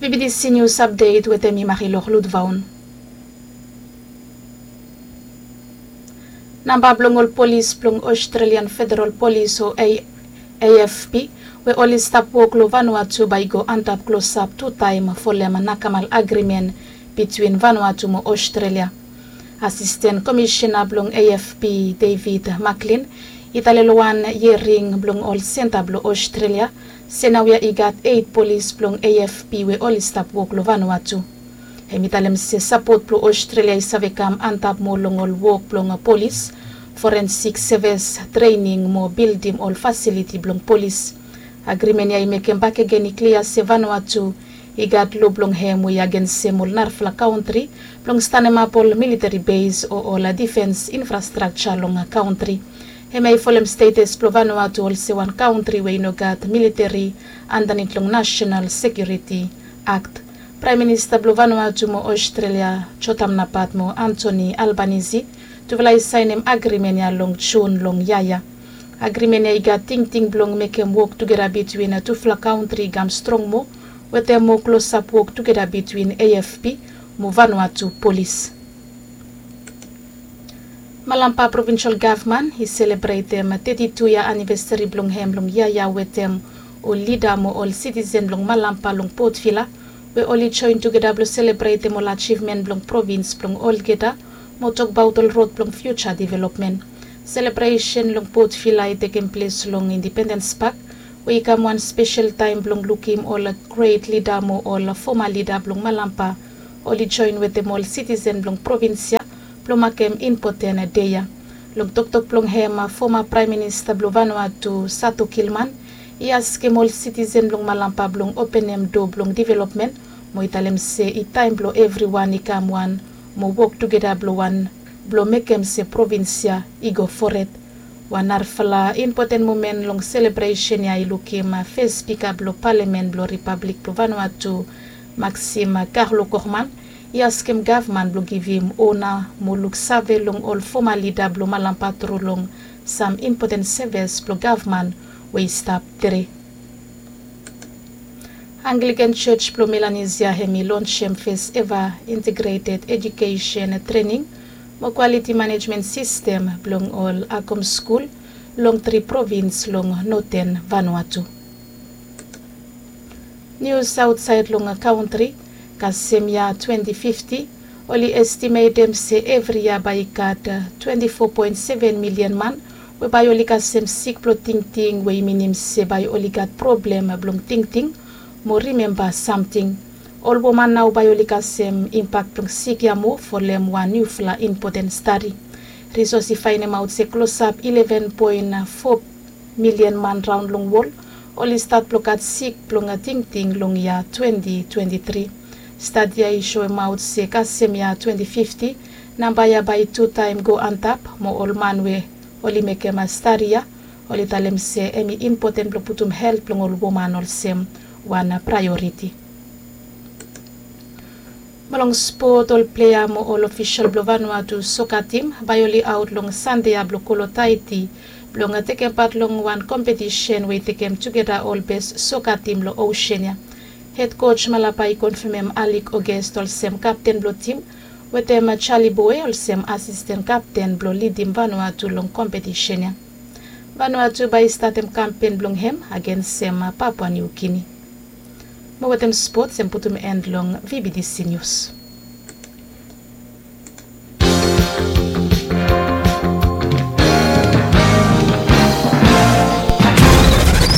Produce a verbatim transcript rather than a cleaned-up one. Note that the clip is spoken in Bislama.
Bibidisi nius apdet wetem mi Marilok Ludvaun. Namba blong ol polis blong Australian Federal Polis o AFP we oli stap wok long Vanuatu bae i go antap klosap tu taem folem nakamal agrimen bitwin Vanuatu mo Australia. Asisten Komisena blong AFP, David Macklin, i talem long wan hiering blong ol senta blong Australia se naoia i gat eit polis blong AFP we oli stap wok long Vanuatu. Hem i talem se sapot blong Australia i save kam antap moa long ol wok blong polis, forensik sevis, trening mo bildim ol fasiliti blong polis. Agrimen ya i mekem bakegen i klia se Vanuatu i gat lo blong hem we i agensem ol narafala kantri blong stanemap ol militeri bes o ol difens infrastrakja long kantri. Hem ya i folem stetes blong Vanuatu olsem wan kantri we i no gat militeri andanit long Nasenal Sekiuriti Akt. Praem Minista blong Vanuatu mo Australia, Jotham Napat mo Anthony Albanese, tufala i saenem agrimen ya long Jun long yia ya. Agrimen ya i gat tingting blong mekem wok tugeta bitwin tufala kantri i kam strong moa wetem moa klosap wok tugeta bitwin AFP mo Vanuatu polis. Malampa Provinsel Gavman i selebretem teti tu yia anivesari blong hem long yia ya wetem ol lida mo ol sitisen blong Malampa long Port Vila, we oli joen tugeta blong selebretem ol ajivmen blong provins blong olgeta mo tokbaot ol rod blong fiuja developmen. Selebresen long Port Vila i tekem ples long Indipendens Pak, we i kam wan spesel taem blong lukim ol gret lida mo ol foma lida blong Malampa oli joen wetem ol sitisen blong provins ya blong makem impoten dei ya. Long toktok blong hem, foma Praem Minista blong Vanuatu, Sato Kilman, i askem ol sitisen blong Malampa blong openem doa blong developmen mo i talem se i taem blong evriwan i kam wan mo wok tugeta blong wan blong mekem se provins ya i go fored. Wan narafala impoten momen long selebresen ya i lukim fes Spika blong Palamen blong Ripablik blong Vanuatu, Maxime Carlo Corman, i askem gavman blong givim ona mo luksave long ol foma lida blong Malampa tru long sam impoten sevis blong gavman we i stap tre. Anglikan Jos blong Melanesia hem i lonsem fes eva integreted ejukesen trening mo kwaliti manejmen sistem blong ol Akom skul long tri provins long noten Vanuatu. Nius aotsaed long kantri, kasem yia twenti fifti, oli estimetem se evri yia bae i gat twenti fo poen seven milian man we bae oli kasem sik blong tingting, we i minim se bae oli gat problem blong tingting mo rimemba samting. Ol woman nao bae oli kasem impak blong sik ya moa folem wan niufala impoten stadi. Risos i faenemaot se klosap ileven poen fo milian man raon long wol oli stat blong gat sik blong tingting long yia twenti twenti tri. Stadi ya i soemaot se kasem yia twenti fifti, namba ya bae i tu taem go antap mo ol man we oli mekem stadi ya oli talem se hem i impoten blong putum helt blong ol woman olsem wan praeoriti. Mo long spot, ol plea mo ol ofisol blong Vanuatu soka tim bae oli aot long Sande ya blong Kolotaiti blong tekem pat long wan kompetisen we i tekem tugeta ol bes soka tim long osen ya. Hed koj Malapa i konfamem Alik Ogest olsem kapten blong tim wetem Jali Boe olsem asisten kapten blong lidim Vanuatu long kompetisen ya. Vanuatu bae i statem kampen blong hem agensem Papua Niu Gini. Mo wetem spots hem putum en long VBTC Nius.